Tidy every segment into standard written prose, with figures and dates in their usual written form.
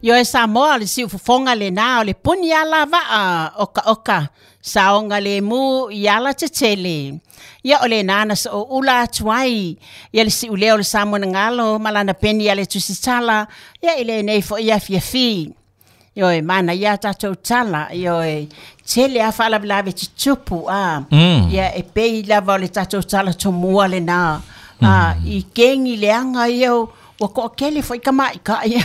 Ioe Samoa o le siufofoga lenā o le puni alavaa okaoka saogalemu i alatetele. Ia o lenā na sooula atu ai ia le siuleo o le Samoa na galo ma lana peni a le Tusitala ia i lenei foi afiafi. Ioe, manaia a tatou tala, ioe, tele lava faalavelave tutupu, a, ia e pei lava o le tatou tala tomua lenā, a, i kegi leaga ia ua toatele foi tamaitai,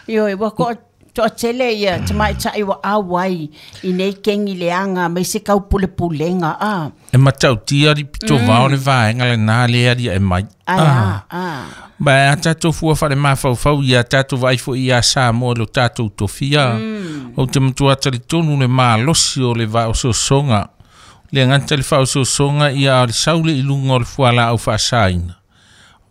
ioe, ua toatele ia tamaitai ua auai i nei kegi leaga aemaise taupulepulega, a. E matautia le pito vao le vaega lenā lea e aliae mai. Ae a, a. Ma e a tatou fua faale-mafaufau ia tatou vaai foi ia Samoa i lo tatou tofia. Ou te matua talitonu le malosi o le vaososoga. Le gata i le faaosoosoga ia a o le sau le i luga o le fualaau faasaina.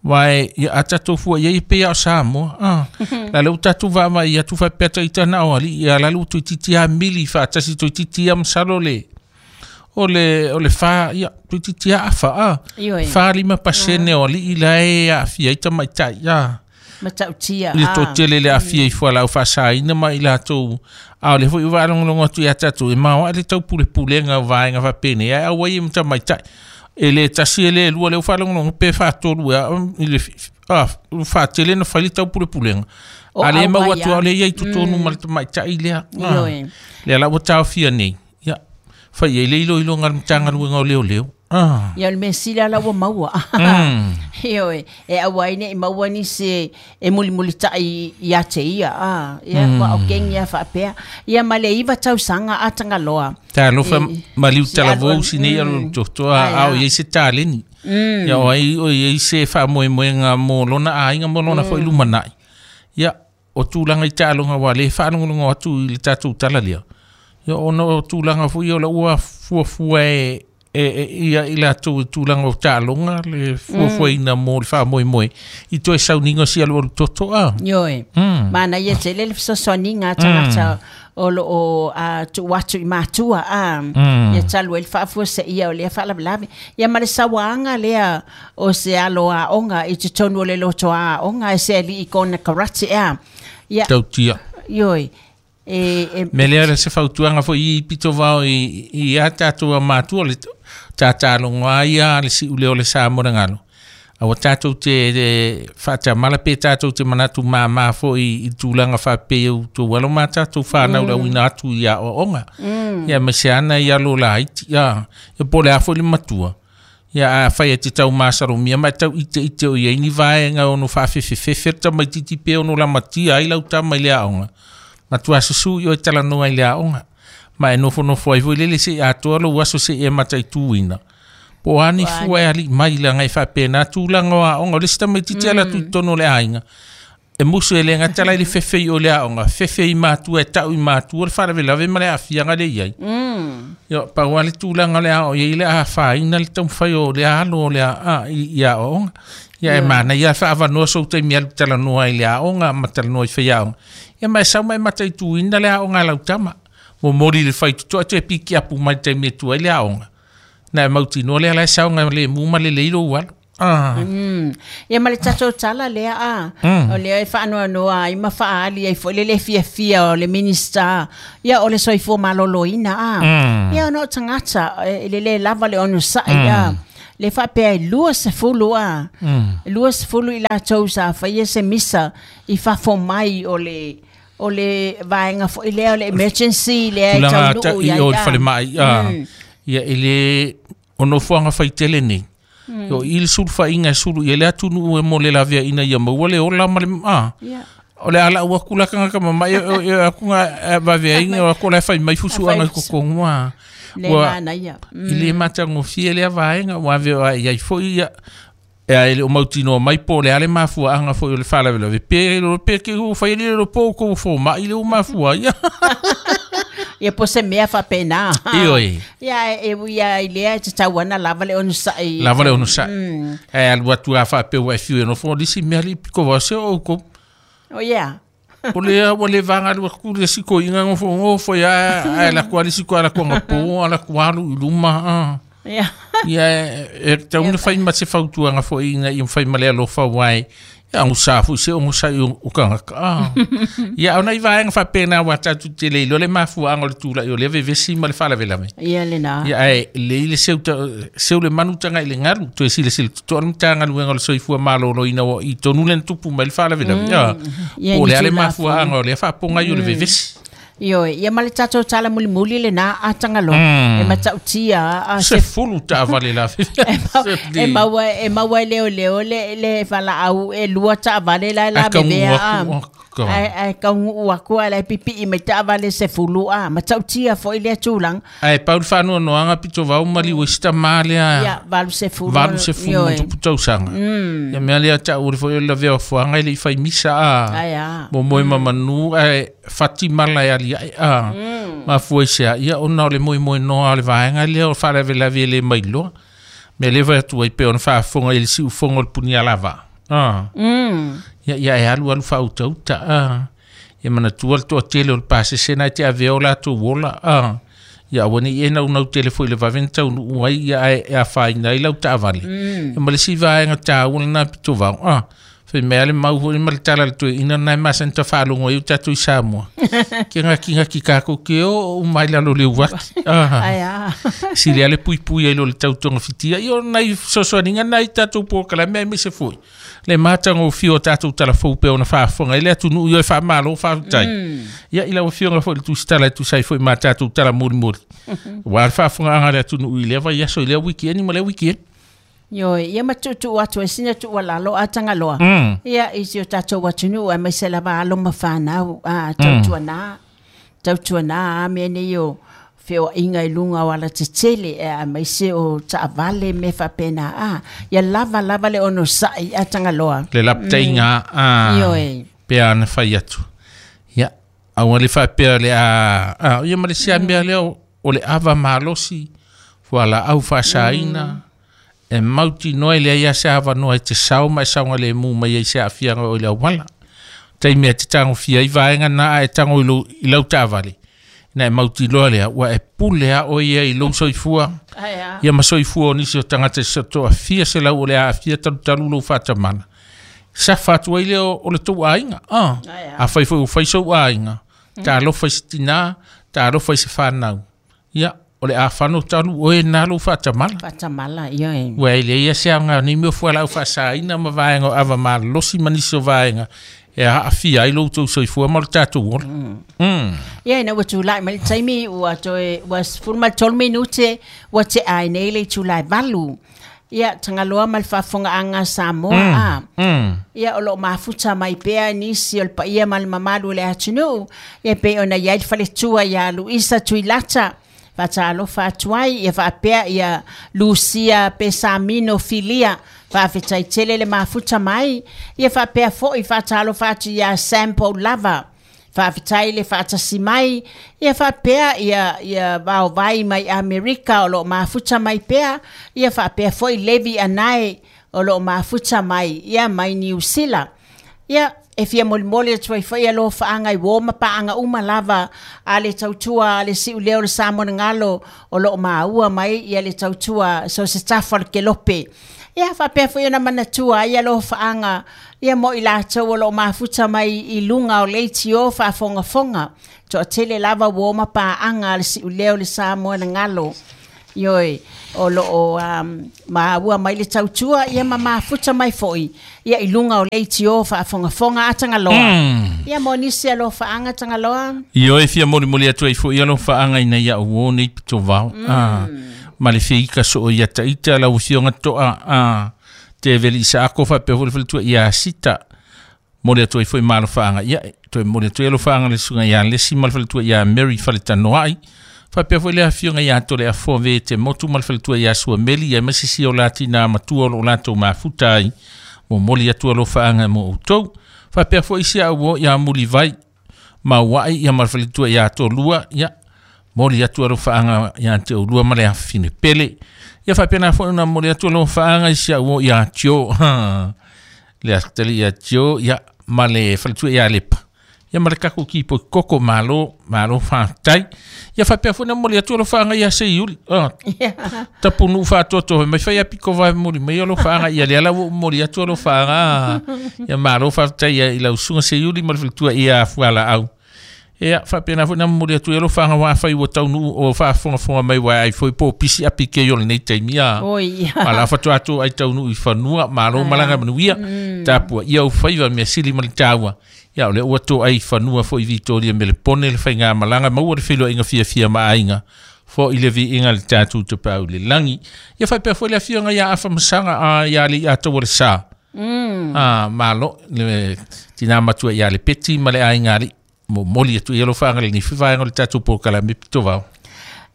Aua e, ia a tatou fua i ai e pei lava o Samoa. A, la lea ua tatou vaavaai atu faapea ita na o alii, ia la lea ua toeitiiti lava mili faatasi toeitiiti lava masalo le o le fa, ia, toeitiiti lava afa, a. Ioe. 4-5% o alii la e aafia ai tamaitai, a. Matautia. I le toatele le aafia i fualaau faasaina ma i latou, a o lea foi ua faalogologo atu ia tatou, e maoae le taupulepulega o vaega faapenei, ae auai ai ma tamaitai. E le tasi e le lua, lea ua faalogologo pe faatolu ea i le faatele na fai le taupulepulega. O A le mau auai atu lava. A o lea e i ai totonu ma le tamaitai lea. Ah, Ioe. Lea la ua taofia nei. Ia, fai ai le iloiloga a le Matagaluega o Leoleo. Ah. Ia o le mea sili lava la ua maua. Ioe, e aua ai ne i maua nisi e mulimulitai ia te ia. A, ia, ua o kegi lava faapea. Ia ma le 9 tausaga a Tagaloa. Talofa maliu si talavou alu si nei alu totoa Ai, a o a. i ai se taleni. Ia o ai o i ai se faamoemoega mo lona aiga mo lona foi lumanai. Ia, o tulaga i taaloga ua le faalogologo atu i le tatou tala lea. Ia ona o tulaga foi o la ua fuafua e ia i latou i tulaga o taaloga le fuafuaina mo le faamoemoe i toe sauniga o si alualu toto a. Ioe. Manaia tele le fesoasoaniga a tagata o lo o tuu atu i matua a ia talu ai le faafuaseia o lea faalavelave. Ia ma le sauaga lea o se alo aoga i totonu o le loto aoga e se alii kona karate ea. Ia, Tautia. Ioe. E Me lea le se fautuaga foi i pito vao i a tatou a matua le tatalogo a ia le siule o le Samoa na galo. A ua tatou te faatamala pe tatou te manatu māmā foi i tulaga faapea u tou alo ma tatou whanau la uina atu i aoaoga. Ia ma se ana i alo laiti. Ia, ia po o le a foi le matua. Ia a fai e te tau masalomia ma e tau ite ite o i ai ni vaega ono faafefefefe le tamaitiiti pe ono lamatia ai lau tama i le aoga. Matua susu i oe talanoa i le aoga. Ma e nofonofo ai foi lele se i atoa lou aso se i e mataituina. Po o a ni fua e alii mai laga e faapena tulaga o aoga. O le isi tamaitiiti ala atu i totonu o le aiga. E musu e le gata la i le fefe i o le aoga, fefe i matua e tau i matua le faalavelave ma le aafiaga le i ai. Ia, pau lava le tulaga o le ao i ai le afaina le taumafai o le alo o le a, i aoaoga. Ia e manaia le faaavanoa sou taimi alu talanoa i le aoga ma talanoa i faiaoga. Ia ma e sau ma e mataituina le aoga a lau tama. Momoli le faitotoa toe piki apu mai le taimi e tu ai le aoga. Na e mautinoa lea la e saoga le mu ma lelei lou alo. Ah. Ia ma le tatou tala lea a. O lea e faanoanoa ai ma faaali ai foi le le fiafia o le Minista. Ia o le soifua maloloina a. Ia ona o tagata e le le lava le onosai a. Le faapea e 20 a. 20 i latou sa faia se misa i fafo mai o le vaega foi lea o le emergency lea e Tulaga taunuu i i ai o le a. falemai. Ah. Ia e le o nofoaga faitele nei. O i le sulufaiga e sulu i ai le atunuu e mo le laveaiina ia maua le ola ma le a. O le ala ua kula kanga mama'i e aku nga vaveaiga o aku o la e fai mai fusuaga i totonu a. Le Ua manaia. i le matagofie lea vaega ua ave ai ai foi ia e ai le o mautinoa mai po o le a le mafuaaga foi o le faalavelave pe pe ke ua fai le lo po ko foma'i le ua mafua ai. Ia po se mea faapena. Ioe. Ia e ui ia i lea e tatau ana lava le onosai. Lava le onosai. E alu atu a faapea ua e fiu e nofo o lisi mea li piko vao se o oukou. Oh yeah. O le ua le vaga alu atu le isi koiga gofo gofo ia ae laku a le isi koa laku agapo a laku alu i luma a. Ia e tau na fai ma se fautuaga foi ina ia fai ma le alofa uae. Agusa foi se ogosa i o tagata ia ona i vaega faapena ua tatou te le iloa le mafuaaga o le tula'i o lea vevesi ma le faalavelave. Ia lena. Ia ae lei le seu le manu taga i le galu toe silasila totoa le Matagaluega o le Soifua Maloloina ua i tonu lena tupu mai le faalavelave ia Ia po o ni le a le tulafono. Mafuaaga o lea faapogai o le vevesi. Ioe, ia ma le tatou tala mulimuli lena a Tagaloa. E matautia a se fulu taavale la e maua e leoleo le valaau e lua taavale la e Ai kauguu lavevea a. Aku, oh, God. Ai kauguu aku a la e pipii mai taavale 10 a. Matautia foi lea tulaga. Ae pau le faanoanoaga pito vau maliu ai se tamā lea Ia, 80. 80 Ioe. tupu tausaga ia mea lea taʻu le foi o le lavea ofoaga e leʻi fai misa a Ai a. momoe ma manu ae fati mala e aliaʻe a mafua i sea ia ona o le moemoenoa o le vaega lea o faalavelave e lē mailoa mea lea fai atu ai pe ona faafofoga i le siufogo o le punia lava a ia ia e alu alu faautauta a ia manatua le toatele o le pasese na e te avea o latou ola a ia aua nei e naunau tele foi le vave na taunuu ai ia ae e afaina ai lau taavale ia ma le isi vaega taua lena pito vao a fai mea le mau foi ma le tala le toeaina lena e masani tafaalogo ai o tatou i Samoa ke gakigaki kākou ke o umai lalo le uaki a Ai a. sili ale puipui ai lo le tautoga fitia ia o nai fesoasoaniga nai tatou polokalame ai maise foi le matagofie o tatou talafou pe ona faafofoga ai le atunuu ia e faamalo faafetai ia i lau afioga foi le tusitala e tusa ai foi ma tatou tala molimoli ua le faafofogaaga a le atunuu i lea vaiaso i lea wikieni ma lea wikieni. Ioe, ia ma tuutuu atu ai sina tuualalo a Tagaloa. Ia, i si o tatou atunuu aemaise lava alo ma fanau a tautuanā. Tautuanā a mea nei o feoaiga i luga o alatetele e aemaise o taavale me faapena a. Ia lava lava le onosai a Tagaloa. Le lapataiga a Ioe. pe ana fai atu ia aua le faapea le a ia ma le siamea lea o le ava malosi fualaau faasaina e mautinoa e leai a se avanoa e te sao ma e saogalemu mai ai se aafiaga o i le auala taimi e te tagofia ai vaega na a e tago i i lau taavale na e mautiloa lea ua e pule a oe ia i lou soifua Ai a. ia ma soifua o nisi o tagata se toafia se lau o le aafia talutalu lou faatamala safa atu ai lea o le tou aiga a Ai a. a fai foi ua fai sou aiga talofa i se tinā talofa i se fanau ia o le afano talu oe na lou faatamala Faatamala, ioe. ua e leai se aoga o nei mea o fualaau faasaina ma vaega o ava malolosi ma nisi o vaega e aafia ai lou tou soifua ma lo tatou ola. Ia ina ua tulai mai le taimi ua toe ua 13 minute ua te ai nei le itula e 8. Ia Tagaloa ma le faafofogaaga a Samoa a. Ia o loo mafuta mai pea nisi o le paia ma le mamalu o le atunuu. Ia pei ona iai le faletua ia Luisa Tuilata. Faatalofa atu ai ia faapea ia Lucia Pesamino Filia. Faafetai tele le mafuta mai. Ia faapea foi faatalofa atu ia Sample Lava. Faafetai le faatasi mai. Ia faapea ia vaovai mai Amerika o loo mafuta mai pea. Ia faapea foi Levi Anae o loo mafuta mai ia mai Niu Sila. Ia e fia molimoli atu ai foi alofaaga i uō ma paaga uma lava a le tautua a le siuleo o le Samoa o loo maua mai ia le tautua so se tafa o le kelope. Ia faapea foi ona manatua ai alofaaga ia mo i latou o loo mafuta mai i luga o leitio faafogafoga. Toatele lava uō ma paaga a le siuleo o le Samoa na galo. Ioe, o loo maua mai le tautua ia ma mafuta mai foi ia i luga o leitio faafogafoga a Tagaloa. Ia mo nisi alofaaga Tagaloa. Ioe fia molimoli atu ai foi alofaaga ina ia uō nei pito vao a ma le feika soo ia taita lau afioga toa a te veli isa ako faapea foi le faletua ia sita moli atu ai foi ma alofaaga ia toe moli atu ai alofaaga le susuga ia Lesi ma le faletua ia Mary Faletanoai faapea foi le afioga ia Tole Afoa ve te motu ma le faletua ia Suameli ia ma sisi o latina matua o loo latou mafuta ai mo moli atu alofaaga mo outou faapea foi si au o ia Mulivai ma ua'i ia ma le faletua ia Tolua ia moli atu alofaaga ia te oulua ma le afafine pele ia faapena foi ona moli atu alofaaga i si au o ia Tio le asitali ia Tio ia ma le faletua ia Lepa Ia ma le takou kipoi koko malo malo faafetai. Ia faapea foi na momoli atu alofaaga ia Seiuli. Tapunuu faatoatoa mai fai apiko vae momoli mai alofaaga ia lea la ua ou momoli atu alofaaga. Ia malo faafetai ia i lau susuga Seiuli ma le faletua ia Fualaau. Ia faapena foi na momoli atu ai alofaaga ua afai ua taunuu o faafogafoga mai ua ai foi po o pisi api kei o lenei taimi a. Oi. Ala faatoa atu ai taunuu i fanua malo malaga manuia. Tapua ia ou faiva mea sili ma le taua. Ia o lea ua toai i fanua foi Vitoria Melepone le faigamalaga maua le feiloaiga fiafia ma aiga fo'i le viiga i le tatou Tapaau i le lagi. Ia faapea foi le afioga ia Afamasaga a ia Alii Atoa le Sa. Malo le tina matua ia le Peti ma le aiga alii momoli atu i alofaaga lenei foi vaega o le tatou polokalame pitovao.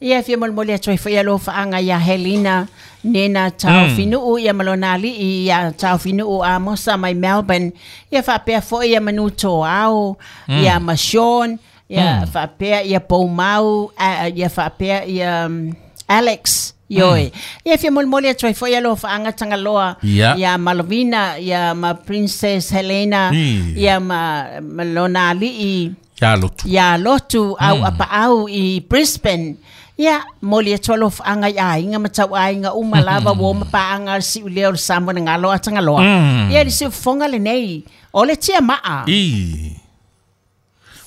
Ia fia molimoli atu ai foi alofaaga ia Helena Nena Taofinuu ia ma lona alii ia Taofinuu Amosa mai Melbourne. Ia faapea foi ia Manu Toao, ia ma Sean, ia faapea ia Poumau, ia faapea ia Alex. Ioe. Ia fia molimoli atu ai foi alofaaga Tagaloa ia Malovina, ia ma Princess Helena, ia ma lona alii ia Lotu. Ia Lotu au apaau i Brisbane. Ia moli atu alofaaga i aiga ma tauaiga uma lava ua o ma paaga le siuleo o le Samoa na galo a Tagaloa. Ia le siufofoga lenei o le tiamaa. I.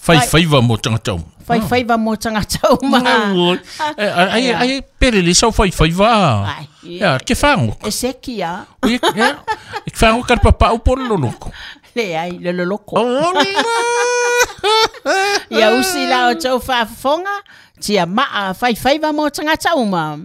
Faifaiva mo tagata uma. Faifaiva mo tagata uma. Ai ai pele le sau faifaiva. Ai. Ia ke whango. E seki a. Ia e whango ka papa au polo loloko. Le ai le loloko. Ia usi la o tau faafofoga, tiamaa faifaiva mo tagata uma.